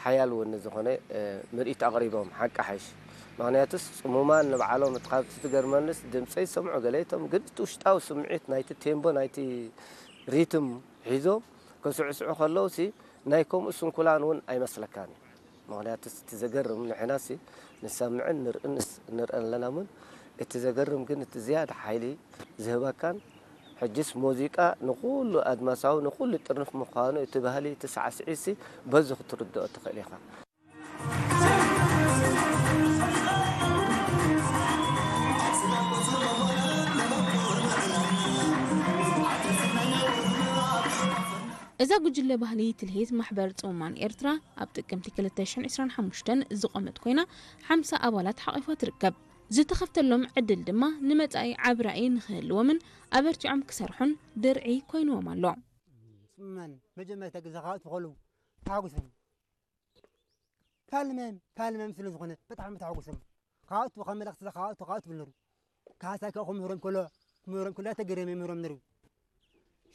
ሓያል እውን ዝኾነ ምርኢት ኣቕሪቦም ሓቂ ሓይሽ። ምኽንያቱስ ጽሙማን ንባዕሎም እቲ ካብቲ ትገርመንስ ድምፀይ ዝሰምዑ ገለ እቶም ግን እቲ ውሽጣዊ ስምዒት ናይቲ ቴምቦ ናይቲ ሪትም ሒዞም ከስዕስዑ ከለውሲ ናይ ከምኡ ስንኩላን እውን ኣይመስለካን እዩ። ምኽንያቱስ እቲ ዘገርም ንሕናሲ ንሰምዕን ንርእንስ ንርእን ኣለና እውን እቲ ዘገርም ግን እቲ ዝያዳ ሓይሊ ዝህበካን ሕጅስ ሙዚቃ ንኹሉ ኣድማሳዊ ንኹሉ ጥርንፍ ምዃኑ እቲ ባህሊ እቲ ሳዕስዒሲ በዚ ክትርድኦ ትኽእል ኢኻ። እዛ ጉጅለ ባህሊ ትልሂት ማሕበር ጽሙማን ኤርትራ ኣብ ጥቅምቲ ክልተ ሽሕን ዕስራን ሓሙሽተን ዝቖመት ኮይና ሓምሳ ኣባላት ሓቒፋ ትርከብ። ዝተኸፍተሎም ዕድል ድማ ንመጻኢ ዓቢ ራእይ ንኽህልዎምን ኣበርቲዖም ክሰርሑን ድርዒ ኮይንዎም ኣሎ። ጽሙማን መጀመርታ ግዜ ካብ ትኸሉ ተሓጉሶም ፋልመም ፋልመም ስለ ዝኾነ ብጣዕሚ ተሓጉሶም ካብቱ ካብ መልእኽቲ ካብቱ ካብቱ ብልነሩ ካሳ ካብ ክምህሮም ከሎ ክምህሮም ከሎ ተገረመ ይምህሮም ነሩ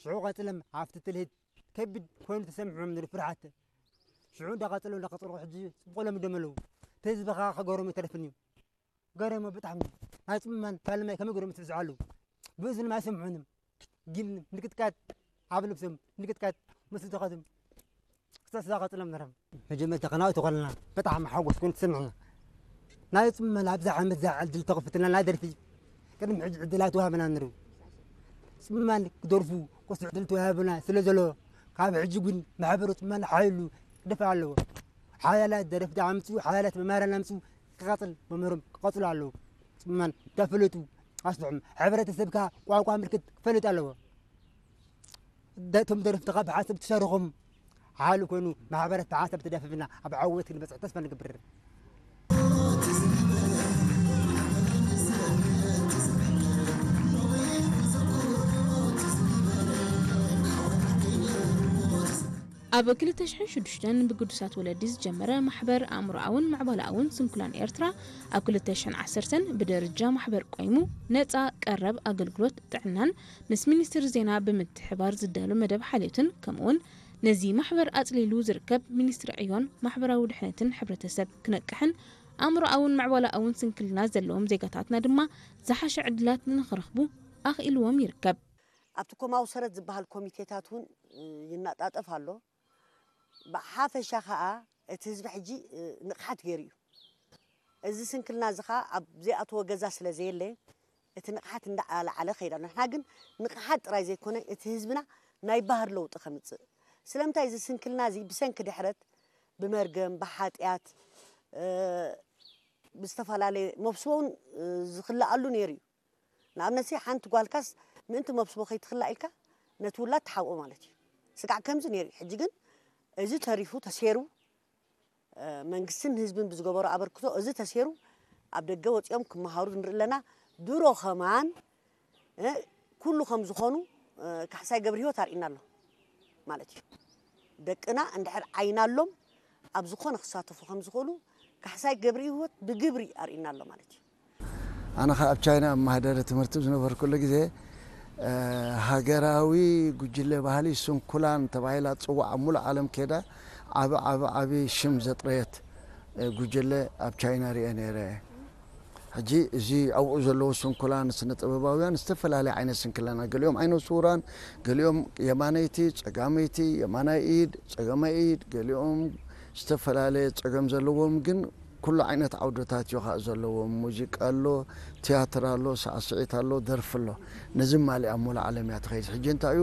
ሽዑ ቀጽለም ኣብቲ ትልሂት ከቢድ ኮይኑ ተሰምዖም ነሩ ፍርሓት ሽዑ እንዳቐጸሉ እንዳቐጸሉ ሕጂ ጽቡቕ ለምዶም ኣለዉ ተህዝቢ ኸዓ ከገሮም ይተርፍን እዩ ገረሞ ብጣዕሚ ናይ ጽምማን ካልማይ ከመይ ገሮም ትብዝሑ ኣለዉ ብእዝንም ኣይሰምዑንም ግን ንቅጥቃጥ ኣብ ልብሶም ንቅጥቃጥ ምስ ዝኸትም ክሳብ ስጋ ቀጽሎም ነሮም መጀመርታ ከናው ተኾልና ብጣዕሚ ሓጎስ ኮይኑ ተሰምዕና ናይ ጽምማን ኣብዛ ዓመት ዝዓል ድል ተኸፍትና ናይ ደርፊ ቅድሚ ሕጂ ዕድል ኣይተዋህበና ነሩ ጽምማን ክደርፉ ኮስ ዕድል ተዋህበና ስለ ዘሎ ካብ ሕጂ ግን ማሕበሩ ጽምማን ሓይሉ ክደፍእ ኣለዎ ሓያላት ደረፍቲ ኣምፅኡ ሓያላት መማህራን ኣምፅኡ ክቐፅል መምህሮም ክቐፅሉ ኣለዉ ጽምማን ተፈለጡ ኣስልሖም ሕብረተሰብካ ቋንቋ ምልክት ክፈልጥ ኣለዎ እቶም ደረፍትኻ ብሓንሳብ ትሰርኾም ሓሉ ኮይኑ ማሕበረት ብሓንሳብ ተዳፊፍና ኣብ ዓወት ክንበፅሕ ተስፋ ንገብር ኣብ ክልተ ሽሕን ሽዱሽተን ብግዱሳት ወለዲ ዝጀመረ ማሕበር ኣእምሮኣውን ምዕባለኣውን ስንኩላን ኤርትራ ኣብ ክልተ ሽሕን ዓሰርተን ብደረጃ ማሕበር ቆይሙ ነጻ ቀረብ ኣገልግሎት ጥዕናን ምስ ሚኒስትሪ ዜና ብምትሕባር ዝዳሎ መደብ ሓልዮትን ከምኡውን ነዚ ማሕበር ኣጽሊሉ ዝርከብ ሚኒስትሪ ዕዮን ማሕበራዊ ድሕነትን ሕብረተሰብ ክነቅሕን ኣእምሮኣውን ምዕባለኣውን ስንክልና ዘለዎም ዜጋታትና ድማ ዝሓሸ ዕድላት ንኽረኽቡ ኣኽኢልዎም ይርከብ። ኣብቲ ኮማዊ ሰረት ዝበሃል ኮሚቴታት እውን ይናጣጠፍ ኣሎ። ብሓፈሻ ከዓ እቲ ህዝቢ ሕጂ ንቕሓት ገይሩ እዩ። እዚ ስንክልና እዚ ከዓ ኣብ ዘይኣተዎ ገዛ ስለ ዘየለ እቲ ንቕሓት እንዳዓለዓለ ከይዳ ንሕና ግን ንቕሓት ጥራይ ዘይኮነ እቲ ህዝብና ናይ ባህር ለውጢ ከምፅእ ስለምንታይ እዚ ስንክልና እዚ ብሰንኪ ድሕረት ብመርገም ብሓጢኣት ብዝተፈላለየ መብስቦ እውን ዝኽልኣሉ ነይሩ እዩ ንኣብነት ሓንቲ ጓልካስ ምእንቲ መብስቦ ከይትኽላእ ኢልካ ነቲ ውላድ ትሓብኦ ማለት እዩ ስጋዕ ከምዚ ነይሩ እዩ ሕጂ ግን እዚ ተሪፉ ተሴሩ መንግስትን ህዝብን ብዝገበሮ ኣበርክቶ እዚ ተሴሩ ኣብ ደገ ወፂኦም ክመሃሩ ንርኢ ኣለና ድሮ ከማን ኩሉ ከም ዝኾኑ ካሕሳይ ገብረ ህይወት ኣርእና ኣሎ ማለት እዩ ደቅና እንድሕር ዓይናሎም ኣብ ዝኾነ ክሳተፉ ከም ዝኽእሉ ካሕሳይ ገብረ ህይወት ብግብሪ ኣርእና ኣሎ ማለት እዩ ኣነ ኸዓ ኣብ ቻይና ኣብ ማህደረ ትምህርቲ ዝነበርኩሉ ግዜ ሃገራዊ ጉጅለ ባህሊ ስንኩላን ተባሂላ ትፅዋዕ ኣብ ሙሉእ ዓለም ከይዳ ዓቢ ዓቢ ዓቢ ሽም ዘጥረየት ጉጅለ ኣብ ቻይና ሪኤ ነይረ ሕጂ እዚ ኣብኡ ዘለዉ ስንኩላን ስነ ጥበባውያን ዝተፈላለየ ዓይነት ስንክለና ገሊኦም ዓይነ ስውራን ገሊኦም የማነይቲ ጸጋመይቲ የማናይ ኢድ ጸጋማይ ኢድ ገሊኦም ዝተፈላለየ ጸገም ዘለዎም ግን ኩሉ ዓይነት ዓውድታት እዩ ከዓ ዘለዎም ሙዚቃ ኣሎ ትያትር ኣሎ ሳዕስዒት ኣሎ ደርፊ ኣሎ ነዚ ማሊ ኣብ ሙሉ ዓለም እያ ትኸይድ ሕጂ እንታይ እዩ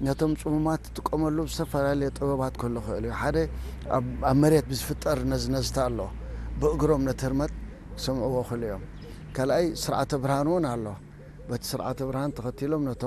ነቶም ፅሙማት ትጥቀመሉ ዝተፈላለየ ጥበባት ክህሉ ክእል እዩ ሓደ ኣብ መሬት ብዝፍጠር ነዝነዝታ ኣሎ ብእግሮም ነቲ ህርመት ክሰምዕዎ ክእሉ እዮም ካልኣይ ስርዓተ ብርሃን እውን ኣሎ በቲ ስርዓተ ብርሃን ተኸቲሎም ነቶም